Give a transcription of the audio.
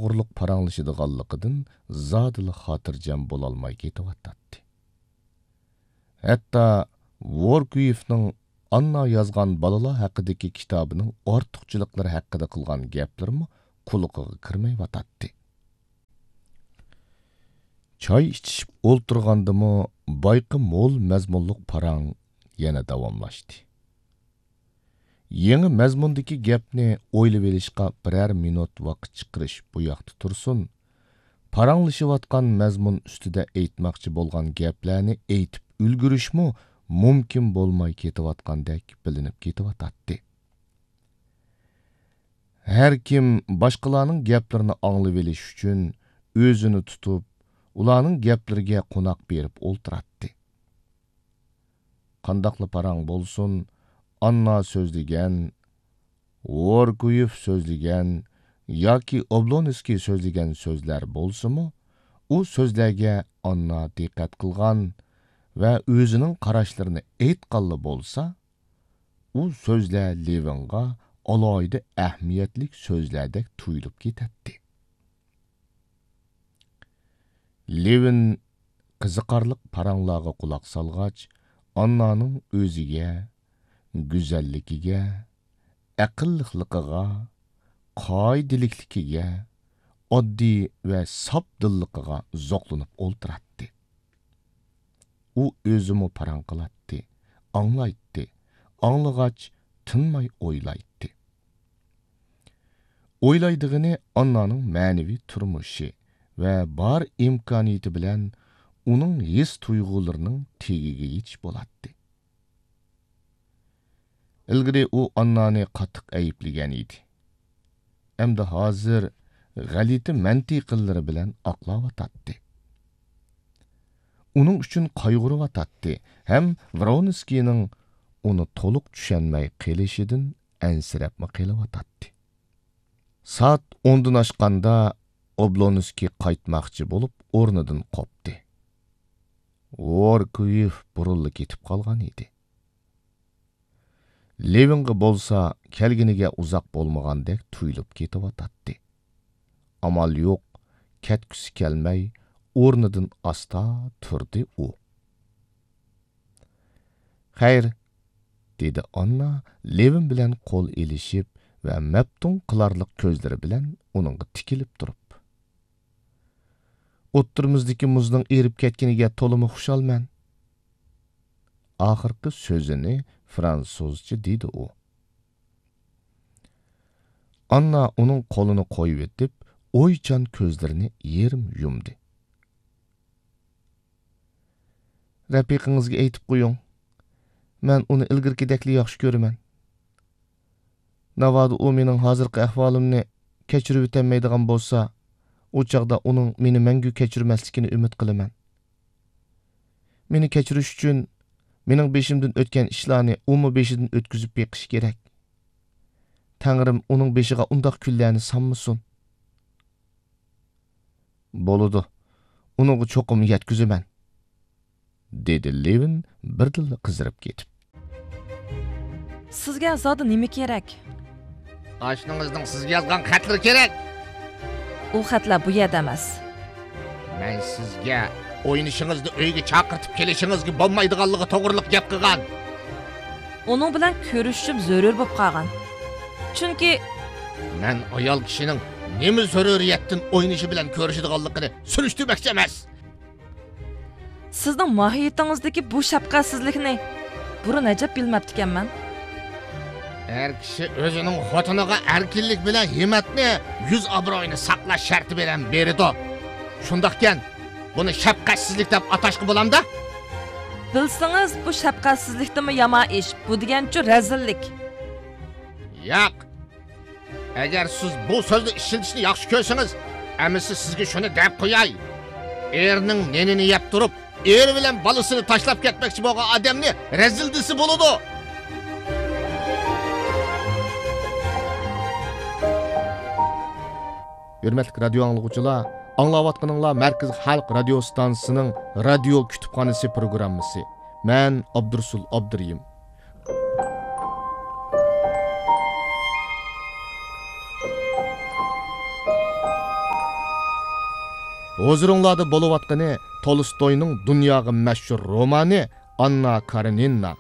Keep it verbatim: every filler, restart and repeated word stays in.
تاپقۇرلۇق پاراڭلىشىدىغانلىقىدىن زادىلا خاتىرجەم بولالماي كېتىۋاتاتتى. ھەتتا ۋوركۇيېفنىڭ ئاننا يازغان بالىلار ھەققىدىكى كىتابىنىڭ ئارتۇقچىلىقلىرى ھەققىدە قىلغان گەپلىرىمۇ قۇلىقىغا كىرمەيۋاتاتتى. چاي ئىچىشىپ ئولتۇرغاندىمۇ بايىقى مول مەزمۇنلۇق پاراڭ يەنە داۋاملاشتى. يېڭى مەزمۇندىكى گەپنى ئويلىۋېلىشقا بىرەر مىنۇت ۋاقىت چىقىرىش بۇ ياقتا تۇرسۇن، پاراڭلىشىۋاتقان مەزمۇن ئۈستىدە ئېيتماقچى بولغان گەپلەرنى ئېيتىپ ئۈلگۈرۈشمۇ مۇمكىن بولماي كېتىۋاتقاندەك بىلىنىپ كېتىۋاتاتتى. ھەر كىم باشقىلارنىڭ گەپلىرىنى ئاڭلىۋېلىش ئۈچۈن ئۆزىنى تۇتۇپ، ئۇلارنىڭ گەپلىرىگە قوناق بېرىپ ئولتۇراتتى. قانداقلا پاراڭ بولسۇن، ئاننا سۆزلىگەن، ۋوركۇيېف سۆزلىگەن ياكى ئوبلونسكىي سۆزلىگەن سۆزلەر بولسىمۇ، ئۇ سۆزلەرگە ئاننا دىققەت قىلغان ۋە ئۆزىنىڭ قاراشلىرىنى ئېيتقانلا بولسا، ئۇ سۆزلەر لېۋىنغا ئالاھىدە ئەھمىيەتلىك سۆزلەردەك تۇيۇلۇپ كېتەتتى. لېۋىن قىزىقارلىق پاراڭلارغا قۇلاق سالغاچ، ئاننانىڭ ئۆزىگە، گۈزەللىكىگە، ئەقىللىقلىقىغا، قائىدىلىكلىكىگە، ئاددىي ۋە ساپ دىللىقىغا زوقلىنىپ ئولتۇراتتى. ئۇ ئۆزىمۇ پاراڭ قىلاتتى، ئاڭلايتتى، ئاڭلىغاچ تىنماي ئويلايتتى. ئويلايدىغىنى ئاننانىڭ مەنىۋى تۇرمۇشى ۋە بار ئىمكانىيىتى بىلەن ئۇنىڭ ھېس-تۇيغۇلىرىنىڭ تېگىگە يېتىش بولاتتى. ئىلگىرى ئۇ ئاننانى قاتتىق ئەيىبلىگەن ئىدى. ئەمدى ھازىر غەلىتە مەنتىقىلىرى بىلەن ئاقلاۋاتاتتى. ئۇنىڭ ئۈچۈن قايغۇرۇۋاتاتتى ھەم ۋرونسكىينىڭ ئۇنى تولۇق چۈشەنمەي قېلىشىدىن ئەنسىرەپمۇ قېلىۋاتاتتى. سائەت ئوندىن ئاشقاندا ئوبلونسكىي قايتماقچى بولۇپ ئورنىدىن قوپتى. ۋوركۇيېف بۇرۇنلا كېتىپ قالغان ئىدى. لېۋىنغا بولسا كەلگىنىگە ئۇزاق بولمىغاندەك تۇيۇلۇپ كېتىۋاتاتتى. ئامال يوق، كەتكۈسى كەلمەي، ئورنىدىن ئاستا تۇردى ئۇ. خەير، دېدى ئاننا لېۋىن بىلەن قول ئېلىشىپ ۋە مەپتۇن قىلارلىق كۆزلىرى بىلەن ئۇنىڭغا تىكىلىپ تۇرۇپ. ئوتتۇرىمىزدىكى مۇزنىڭ ئېرىپ كەتكىنىگە تولىمۇ خۇشالمەن. ئاخىرقى سۆزىنى فرانسۇزچە دېدى ئۇ. ئاننا ئۇنىڭ قولىنى قويۇۋېتىپ، ئويچان كۆزلىرىنى يېرىم يۇمدى. رەپىقىڭىزگە ئېيتىپ قويۇڭ. مەن ئۇنى ئىلگىرىكىدەكلا ياخشى كۆرىمەن. ناۋادا ئۇ مېنىڭ ھازىرقى ئەھۋالىمنى كەچۈرۈۋېتەلمەيدىغان بولسا، ئۇ چاغدا ئۇنىڭ مېنى مەڭگۈ كەچۈرمەسلىكىنى ئۈمىد قىلىمەن. مېنى كەچۈرۈش ئۈچۈن مېنىڭ بېشىمدىن ئۆتكەن ئىشلارنى ئۇمۇ بېشىدىن ئۆتكۈزۈپ بېقىشى كېرەك. تەڭرىم ئۇنىڭ بېشىغا ئۇنداق كۈنلەرنى سالمىسۇن. بولىدۇ، ئۇنىڭغا چوقۇم يەتكۈزىمەن، دېدى لېۋىن بىردىنلا قىزىرىپ كېتىپ. سىزگە زادى نېمە كېرەك؟ ئاشنىڭىزنىڭ سىزگە يازغان خەتلىرى كېرەك. ئۇ خەتلەر بۇ يەردە ئەمەس. مەن سىزگە ئوينىشىڭىزنى ئۆيگە چاقىرتىپ كېلىشىڭىزگە بولمايدىغانلىقى توغرىلىق گەپ قىلغان. ئۇنىڭ بىلەن كۆرۈشۈشۈم زۆرۈر بولۇپ قالغان. چۈنكى مەن ئايال كىشىنىڭ نېمە زۆرۈرىيەتتىن ئوينىشى بىلەن كۆرۈشىدىغانلىقىنى سۈرۈشتۈرمەكچى ئەمەس. سىزنىڭ ماھىيىتىڭىزدىكى بۇ شەپقەتسىزلىكنى بۇرۇن ئەجەب بىلمەپتىكەنمەن. ئەر كىشى ئۆزىنىڭ خوتۇنىغا ئەركىنلىك بىلەن ھىممەتنى، يۈز ئابرۇيىنى ساقلاش شەرتى بىلەن بېرىدۇ. شۇنداقكەن، بۇنى شەپقەتسىزلىك دەپ ئاتاشقا بولامدا؟ بىلسىڭىز، بۇ شەپقەتسىزلىكتىنمۇ يامان ئىش. بۇ دېگەنچۇ رەزىللىك. ياق. ئەگەر سىز بۇ سۆزنى ئىشلىتىشنى ياخشى كۆرسىڭىز، ئەمىسە سىزگە شۇنى دەپ قوياي. ئېرىنىڭ نېنىنى يەپ تۇرۇپ، ئېرى بىلەن بالىسىنى تاشلاپ كەتمەكچى بولغان ئادەمنى رەزىل دېسە بولىدۇ. ھۆرمەتلىك رادىيو ئاڭلىغۇچىلار، ئاڭلاۋاتقىنىڭلار مەركىزىي خەلق رادىيو ئىستانسىسىنىڭ رادىيو كۇتۇپخانىسى پروگراممىسى. مەن ئابدۇرۇسۇل ئابدۇرېھىم. ھۇزۇرۇڭلاردا بولۇۋاتقىنى تولستوينىڭ دۇنياغا مەشھۇر رومانى ئاننا كارېنىنا.